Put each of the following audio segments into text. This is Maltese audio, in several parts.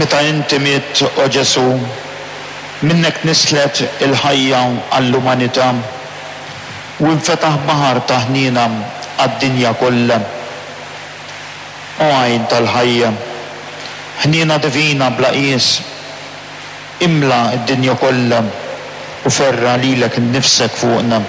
Meta inti mitt, o Ġesù, minnek nislet il-ħajja għall-umanità u infetaħ baħar ta' ħniena għad-dinja kollha. O għajn tal-ħajja, ħniena divina bla qies, imla d-dinja kollha u ferra' lilek innifsek fuqna.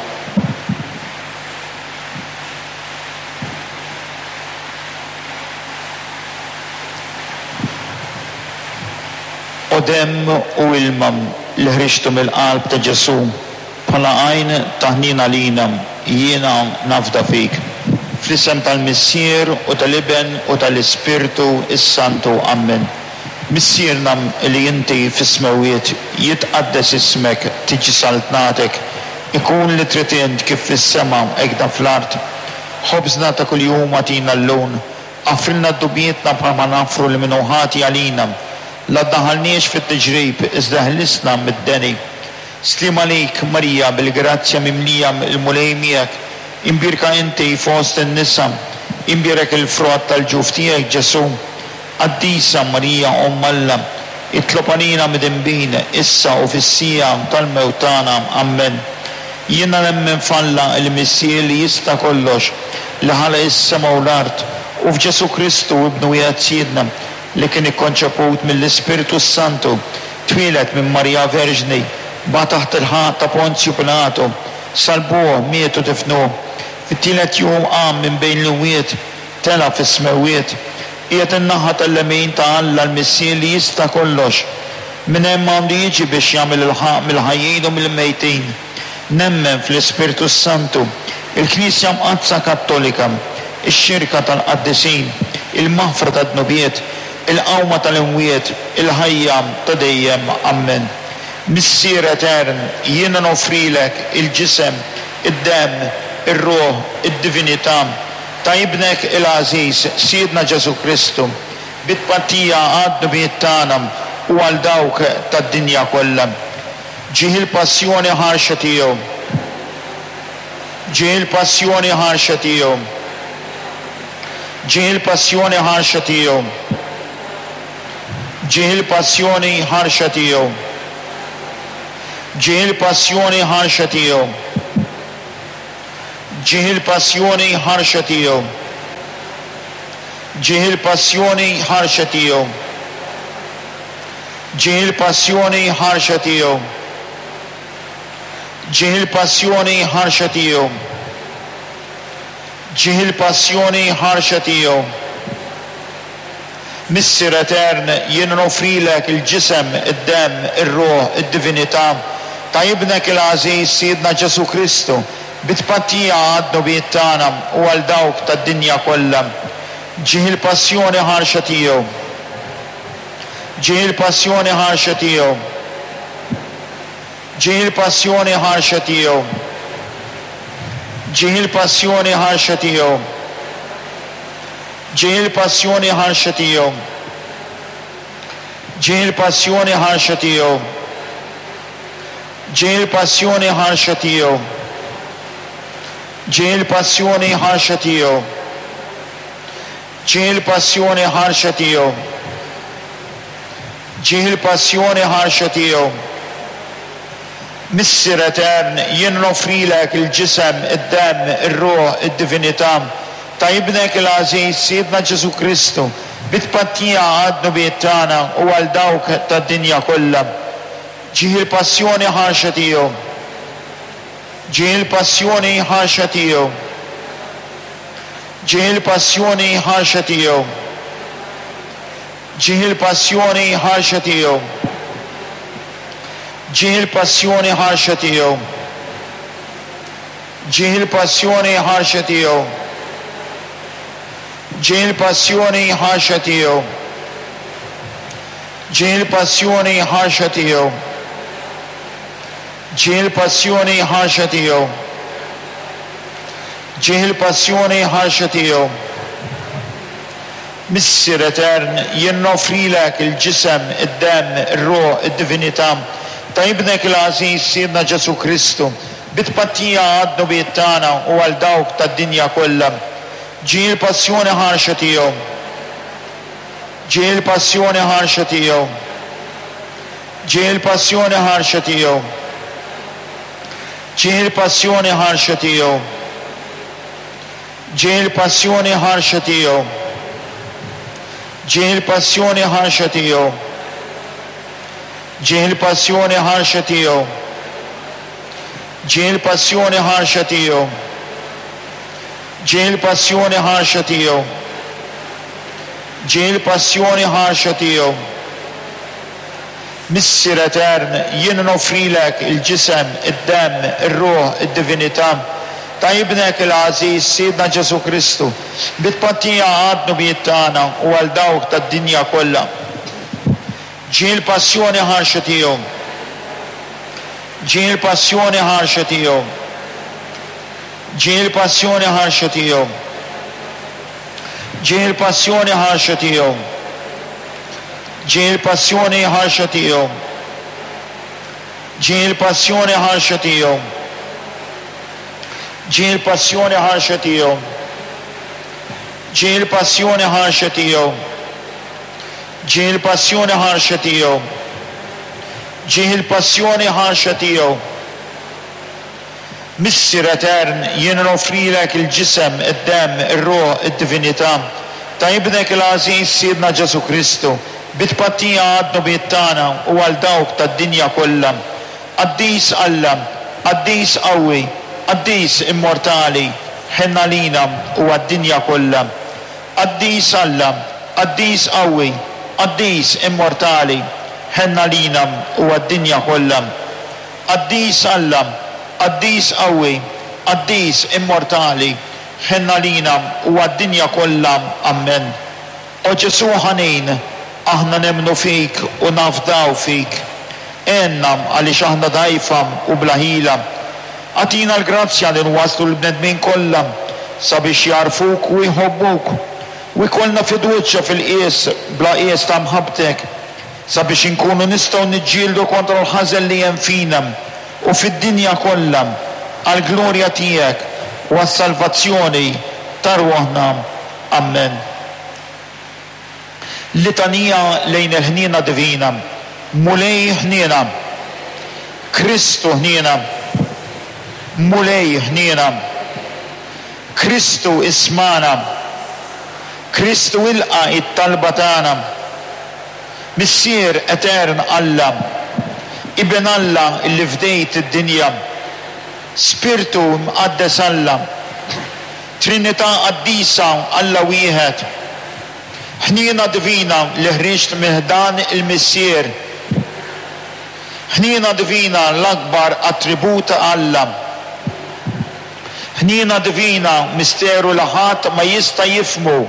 O demm u ilma li ħriġtu mill-qalb ta' Ġesù bħala għajn ta' ħniena għalina, jiena nafda fik. Fl-isem tal-Missier u tal-Iben u tal-Ispirtu s-Santu. Ammen. Missierna li inti fis-smewwiet, jitqaddes ismek, tiġi saltnatek, ikun li trid int kif fis-sema hekk fl-art. Ħobżna ta' kuljum agħtina llum. Aħfrilna dubjietna bħalma naħfru lil min hu ħati għalina. La ddaħħalniex fit-tiġrib, iżda eħlisna mid-deni. Sliem għalik, Marija, bil-grazzja mimlija, il-Mulej miegħek. Imbierka inti fost in-nisa, imbierek il-frott tal-ġuf tiegħek, Ġesù. Qaddisa Marija, Omm Alla, itlob għalina midinbin, issa u fis-siegħa tal-mewt tagħna. Ammen. Jiena nemmen f'Alla, il-Missier li jista' kollox, li ħalaq is-sema u l-art, u f'Ġesù Kristu, Ibnu wieħed Sidna, li kien ikkonċeput mill-Ispirtu s-Santu, twieled minn Marija Verġni, bagħat taħt il-ħaqq ta' Ponzju Pilatu, salbuh, miet u difnuh. Fit-tielet jum qam minn bejn l-imwiet, tela' fis-smewwiet, qiegħed in-naħa tal-lemin ta' Alla l-Missier li jista' kollox. Minn hemm għandu jiġi biex jagħmel il-ħaqq mill-ħajjin u mill-mejtin. Nemmen fl-Ispirtu s-Santu, il-Knisja Mqaddsa Kattolika, ix-xirka tal-qaddisin, il-maħfra tad-dnubiet, il-qawma tal-imwiet, il-ħajja ta' dejjem. Ammen. Missier etern, jiena noffrilek il-ġisem, id-demm, ir-ruħ, id-divinità ta' Ibnek il-għażiż, Sidna Ġesù Kristu, bi tpattija għad-dnubiet tagħna u għal dawk tad-dinja kollha. Ġieħ il-passjoni ħarxa tiegħu. Ġieħ il-passjoni ħarxa tiegħu. Ġieħ il-passjoni ħarxa tiegħu. Ġieħ il-passjoni ħarxa tiegħu. Ġieħ il-passjoni ħarxa tiegħu. Ġieħ il-passjoni ħarxa tiegħu. Ġieħ il-passjoni ħarxa tiegħu. Ġieħ il-passjoni ħarxa tiegħu. Ġieħ il-passjoni ħarxa tiegħu. Ġieħ il-passjoni ħarxa tiegħu. Missier etern, jien noffrilek il-ġisem, id-demm, ir-ruħ, id-divinità ta' Ibnek il-għażiż Sidna Ġesù Kristu, bi tpattija għad-dnubiet tagħna u għal dawk tad-dinja kollha. Ġieħ il-passjoni ħarxa tiegħu. Ġieħ il-passjoni ħarxa tiegħu. Ġieħ il-passjoni ħarxa tiegħu. Ġieħ il-passjoni ħarxa tiegħu. Ġieħ il-passjoni ħarxa tiegħu. Ġieħ il-passjoni ħarxa tiegħu. Ġieħ il-passjoni ħarxa tiegħu. Ġieħ il-passjoni ħarxa tiegħu. Ġieħ il-passjoni ħarxa tiegħu. Ġieħ il-passjoni ħarxa tiegħu. Missier etern, jien noffrilek il-ġisem, id-demm, ir-ruħ, id-divinità ta' Ibnek il-għażiż Sidna Ġesù Kristu, bi tpattija għad-dnubiet tagħna u għal dawk tad-dinja kollha. Ġieħ il-passjoni ħarxa tiegħu. Ġieħ il-passjoni ħarxa tiegħu. Ġieħ il-passjoni ħarxa tiegħu. Ġieħ il-passjoni ħarxa tiegħu. Ġieħ il-passjoni ħarxa tiegħu. Ġieħ il-passjoni ħarxa tiegħu. Ġieħ il-passjoni ħarxa tiegħu. Ġieħ il-passjoni ħarxa tiegħu. Ġieħ il-passjoni ħarxa tiegħu. Ġieħ il-passjoni ħarxa tiegħu. Missier etern, jien noffrilek il-ġisem, id-demm, ir-ruħ, id-divinità ta' Ibnek il-għażiż Sidna Ġesù Kristu, bi tpattija għad-dnubiet tagħna u għal dawk tad-dinja kollha. Ġieħ il-passjoni ħarxa tiegħu. Ġie il-passjoni ħarxa tiegħu. Ġie il-passjoni ħarxa tiegħu. Ġie il-passjoni ħarxa tiegħu. Ġie il-passjoni ħarxa tiegħu. Ġie il-passjoni ħarxa tiegħu. Ġie il-passjoni ħarxa tiegħu. Ġie il-passjoni ħarxa tiegħu. Ġie il-passjoni ħarxa tiegħu. Ġie il-passjoni ħarxa tiegħu. Missier etern, jien noffrilek il-ġisem, id-demm, ir-ruħ, id-divinità ta' Ibnek il-għażiż Sidna Ġesù Kristu, bi tpattija għad-dnubiet tagħna u għal dawk tad-dinja kollha. Ġie l-passjoni ħarxa tiegħu. Ġie l-passjoni ħarxa tiegħu. Ġie l-passjoni ħarxa tiegħu. Ġie l-passjoni ħarxa tiegħu. Ġie l-passjoni ħarxa tiegħu. Ġie l-passjoni ħarxa tiegħu. Ġie l-passjoni ħarxa tiegħu. Ġie l-passjoni ħarxa tiegħu. Ġie l-passjoni ħarxa tiegħu. Ġie l-passjoni ħarxa tiegħu. Missier etern, jien noffrilek il-ġisem, id-demm, ir-ruħ, id-divinità ta' Ibnek il-għażiż Sidna Ġesù Kristu, bi tpattija għad-dnubiet tagħna u għal dawk tad-dinja kollha. Qaddis Alla, qaddis qawwi, qaddis immortali, ħenn għalina u għad-dinja kollha. Qaddis Alla, qaddis qawwi, qaddis immortali, ħenn għalina u għad-dinja kollha. Qaddis Alla, qaddis qawwi, qaddis immortali, ħenn għalina u għad-dinja kollha. Ammen. O Ġesù ħanin, aħna nemmnu fik u nafdaw fik. Għenna għaliex aħna dgħajfa u bla ħila. Agħtina l-grazzja li nwasslu l-bnedmin kollha sabiex jagħrfuk u jħobbuk, u jkollna fiduċja fil-qies bla qies ta' mħabbtek. Sabiex inkunu nistgħu niġġieldu kontra l-ħażen li hemm fina u fid-dinja kollha, għall-glorja tiegħek u għas-salvazzjoni ta' ruħna. Ammen. Litanija lejn il-Ħniena Divina. Mulej ħniena. Kristu ħniena. Mulej ħniena. Kristu ismagħna. Kristu ilqa' it-talba tagħna. Missier etern Alla, Iben Alla illi fdejt id-dinja, Spirtu Mqaddes Alla, Trinità Qaddisa Alla wieħed, Ħniena Divina li ħriġt minn ħdan il-Missier, Ħniena Divina l-akbar attribut ta' Alla, Ħniena Divina misteru li ħadd ma jista' jifhmu,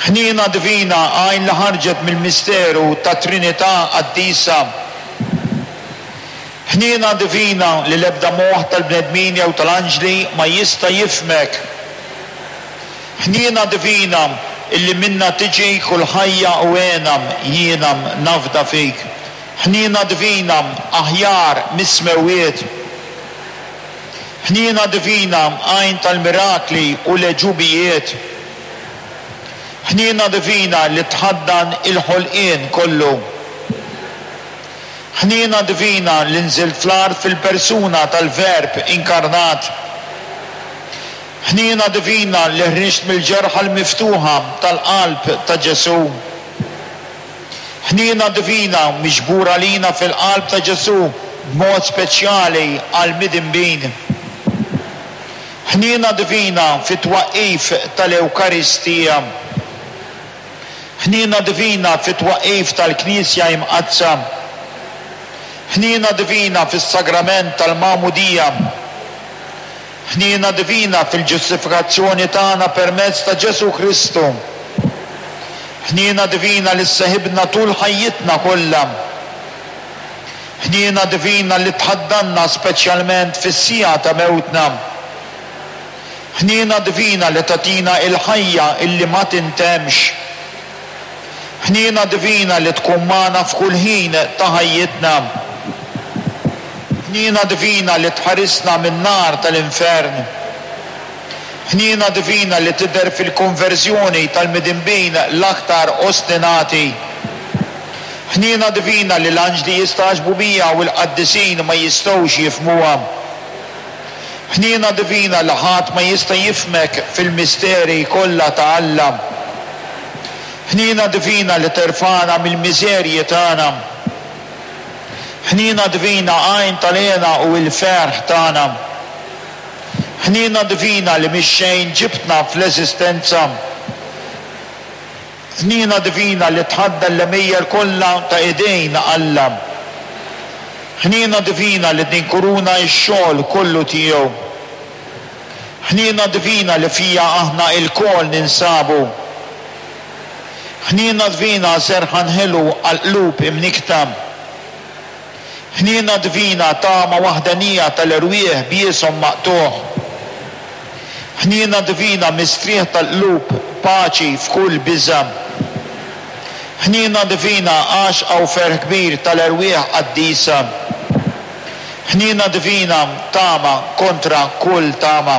Ħniena divina, għajn li ħarġet mill-misteru tat-Trinità Qaddisa. Ħniena divina li l-ebda moħħ tal-bnedmin jew tal-anġli ma jista' jifhmek. Ħniena divina illi minnha tiġi kull ħajja u hena, jiena nafda fik. Ħniena divina aħjar mis-smewwiet. Ħniena divina għajn tal-mirakli u l-għeġubijiet. Ħniena divina li tħaddan il-ħolqien kollu. Ħniena divina li nżilt fl-art fil-persuna tal-Verb inkarnat. Ħniena divina li ħriġt mill-ġerħa l-miftuħa tal-qalb ta' Ġesù. Ħniena divina miġbura għalina fil-qalb ta' Ġesù b'mod speċjali għall-midinbin. Ħniena divina fit-twaqqif tal-Ewkaristija. Ħniena divina fit-twaqqif tal-Knisja Imqaddsa. Ħniena divina fis-Sagrament tal-Magħmudija. Ħniena divina fil-ġustifikazzjoni tagħna permezz ta' Ġesù Kristu. Ħniena divina li sseħibna tul ħajjitna kollha. Ħniena divina li tħaddanna speċjalment fis-siegħa ta' mewtna. Ħniena divina li tagħtina il-ħajja illi ma tintemmx. Ħniena divina li tkun magħna f'kull ħin ta' ħajjitna. Ħniena divina li tħarisna min-nar tal-infern. Ħniena divina li tidher fil-konverżjoni tal-midinbin l-aktar ostinati. Ħniena divina li l-anġli jistagħġbu biha u l-qaddisin ma jistgħux jifhmuha. Ħniena divina li ħadd ma jista' jifhmek fil-misteri kollha ta' Alla. Ħniena divina li terfagħna mill-miżerji tagħna. Ħniena divina għajn tal-hena u l-ferħ tagħna. Ħniena divina li mix-xejn ġibtna fl-eżistenza. Ħniena divina li tħaddan l-għemejjel kollha ta' idejn Alla. Ħniena divina li tinkuruna x-xogħol kollu tiegħu. Ħniena divina li fiha aħna ilkoll ninsabu. Ħniena divina serħan ħelu għall-qlub imnikkta. Ħniena divina tama waħdanija tal-erwieħ b'jieshom maqtugħ. Ħniena divina mistrieħ tal-qlub, paċi f'kull biża'. Ħniena divina għaxqa u ferħ kbir tal-erwieħ qaddisa. Ħniena divina tama kontra kull tama.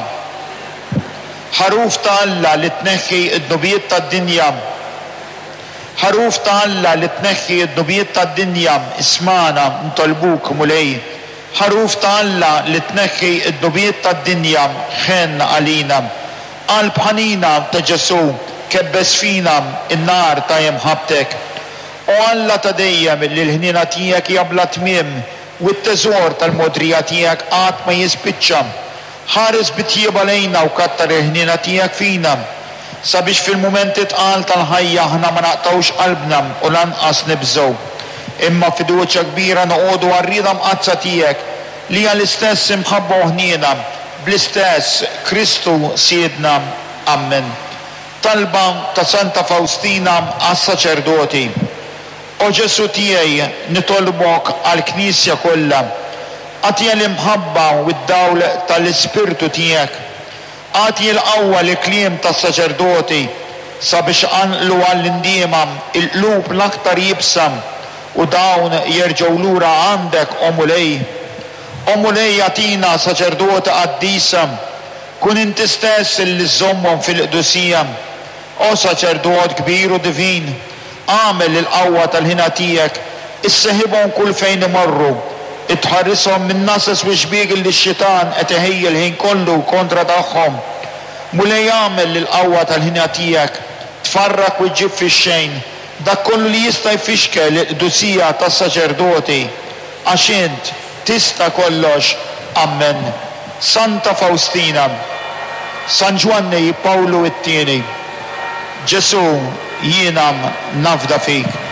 Ħaruf ta' Alla li tneħħi d-dnubiet tad-dinja. Ħaruf ta' Alla li tneħħi d-dnubiet tad-dinja, ismagħna, nitolbuk, Mulej. Ħaruf ta' Alla li tneħħi d-dnubiet tad-dinja, ħenn għalina. Qalb ħanina ta' Ġesù, kebbes fina n-nar ta' imħabbtek. O Alla ta' dejjem li l-ħniena tiegħek hija bla tmiem u t-teżor tal-mogħdrija tiegħek qatt ma jispiċċa, Ħares bi tjieba lejna u kattar il-ħniena tiegħek fina, sabiex fil-mumenti tqal tal-ħajja aħna ma naqtgħux qalbna u lanqas nibżgħu, imma b'fiduċja kbira noqogħdu għar-rieda mqaddsa tiegħek, li hija l-istess imħabba u ħniena, bl-istess Kristu Sidna. Ammen. Talba ta' Santa Fawstina għas-saċerdoti. O Ġesù tiegħi, nitolbok għall-Knisja kollha. Agħtiha l-imħabba u d-dawl ta' l-Ispirtu tiegħek. Agħti l-qawwa lill-kliem tas-saċerdoti sabiex iqanqlu għall-indiema l-qlub l-aktar iebsa u dawn jerġgħu lura għandek, o Mulej. O Mulej agħtina saċerdoti qaddisa. Kun inti stess illi żżommhom fil-qdusija. O Saċerdot kbir u divin, agħmel li l-qawwa tal-ħina tiegħek isseħibhom kull fejn imorru, tħarishom min-nases u x-xbiek li x-xitan qed iħejji l-ħin kollu kontra tagħhom. Mulej agħmel li l-qawwa tal-ħina tiegħek tfarrak u ġġib fix-xejn dak kollu li jista' jfixkel il-qdusija tas-saċerdoti, għax int Tista' kollox. Ammen. Santa Fawstina. San Ġwanni Pawlu it-Tieni. Ġesù, jiena nafda fik.